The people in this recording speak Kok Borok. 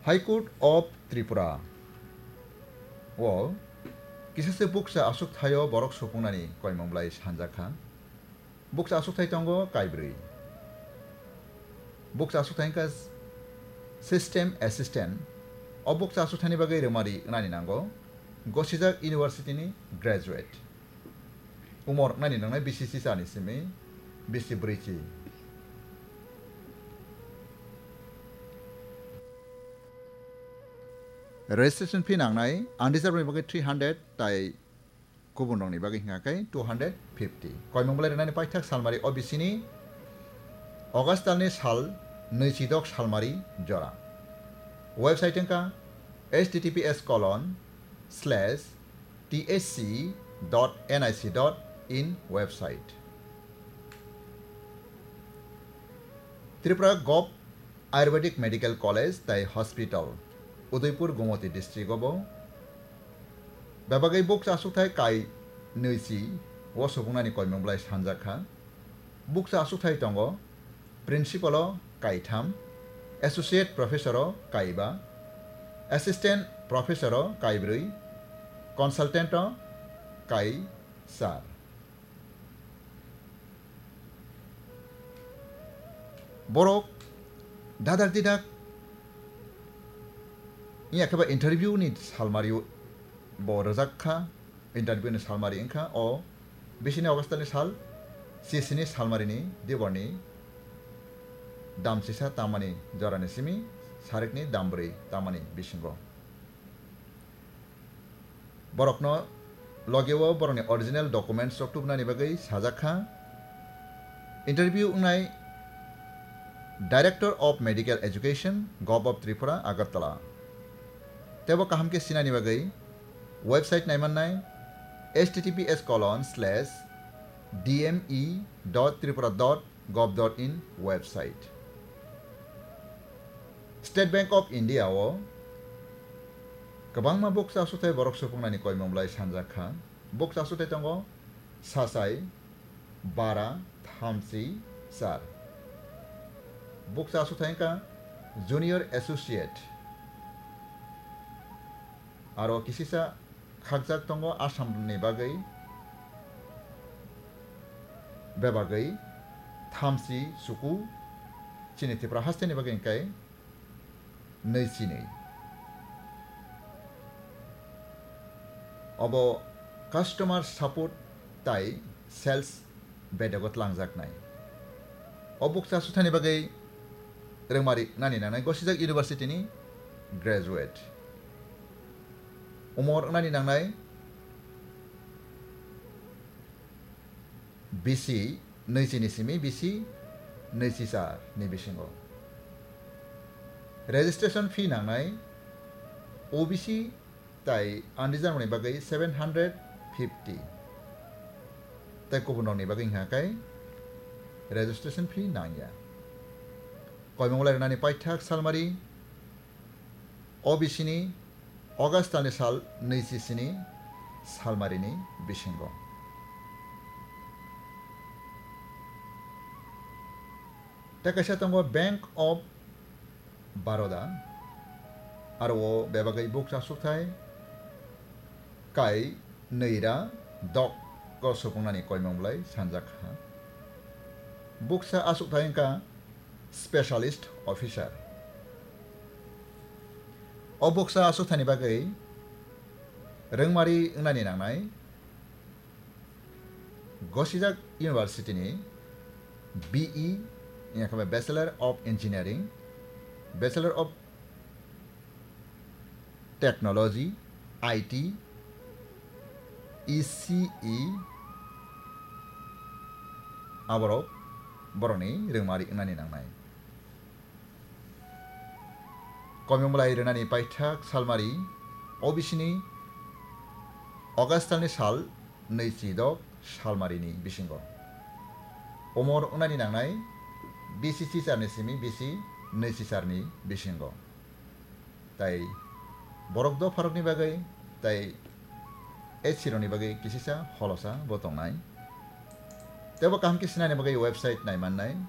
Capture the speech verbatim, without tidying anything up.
High Court of Tripura o kisa se bukcha aswk thaio borok supungnani koimung bwlai sanjak kha. Bukcha aswk thai tongo kaibrwi. Bukcha aswk thai wngkha system assistant. O bukcha aswk thaini bagwi rwmari wngnani nango gosijak university ni graduate. Umor wngnani nangnai bisi sisa ni simi bisi brwichi. Registration fee nangnai unreserved ni bagwi three hundred tai kubun rokni bagwi hingkha khe two hundred fifty. Koimung bwlai rwnani paithak salmari O B C ni August talni sal nwichidok salmari jora. Website wngkha H T T P S colon slash T H C dot N I C dot in website. Tripura Gov Ayurvedic Medical College tai Hospital, Udaipur, Gomoti district o bo bebagwi bukcha aswkthai kai nwichi o supungnani koimung bwlai sanjak kha. Bukcha aswkthai tongo, principal o kaitham, associate professor o kaiba, assistant professor o kaibrwi, consultant o kaisar. Borok dadak didak wngya khe ba interview ni salmari bo rwjak kha, interview ni salmari wngkha o bisini August ni sal, sisini salmari ni diborni dam sisa tamani jorani simi sarikni dam bwrwi tamani bisingo. Borokno logeo borokni original documents rok tubunani bagwi sajak kha. Interview wngnai Director of Medical Education, Gov of Tripura, Agartala. Tebo kaham khe sinani bagwi website naimannai H T T P S colon slash D M E dot tripura dot gov dot in website. State Bank of India o kwbangma bukcha aswkthai borok supungnani koimung bwlai sanjak kha. Bukcha aswkthai tongo sachai, bara, thamchi, char. Bukcha aswkthai wngkha junior associate. Aro kisisa khakjak tongo Assam ni bagwi, bebagwi thamchi chuku, chini Tripura haste ni bagwi hwnkhe nwi chinwi. Obo customer support tai sales bedogo tlangjaknai. O bukcha aswkthani bagwi rwngmari wngnani nangnai gosijak university ni graduate. Umor wngnani nangnai bisi nwichi ni simi bisi nwichi char ni bisingo. Registration fee nangnai O B C tai unreserved ni bagwi seven hundred fifty. Tai kubun rokni bagwi hwnkha khe registration fee nangya. Koimung lai rwnani paithak salmari O B C ni August talni sal nwichi sini salmarini bisingo. Tei kaisa tongo Bank of Baroda, aro o bebagwi bukcha aswkthai kai nwi ra dok o supungnani koimung bwlai sanjak kha. Bukcha aswkthai wngkha specialist officer. O bukcha aswkthani bagwi rwngmari wngnani nangnai gosijak university ni B E, wngya khe Bachelor of Engineering, Bachelor of Technology, I T, E C E, aborok borokni rwngmari wngnani nangnai. Koimung bwlai rwnani paithak salmari O B C ni August talni sal nwichi dok salmarini bisingo. Umor wngnani nangnai bisi sicharni simi bisi nwichi charni bisingo. Tai borok dopharokni bagwi tai H C rokni bagwi kisisa holosa bo tongnai. Teibo kaham khe sinani bagwi website naimannai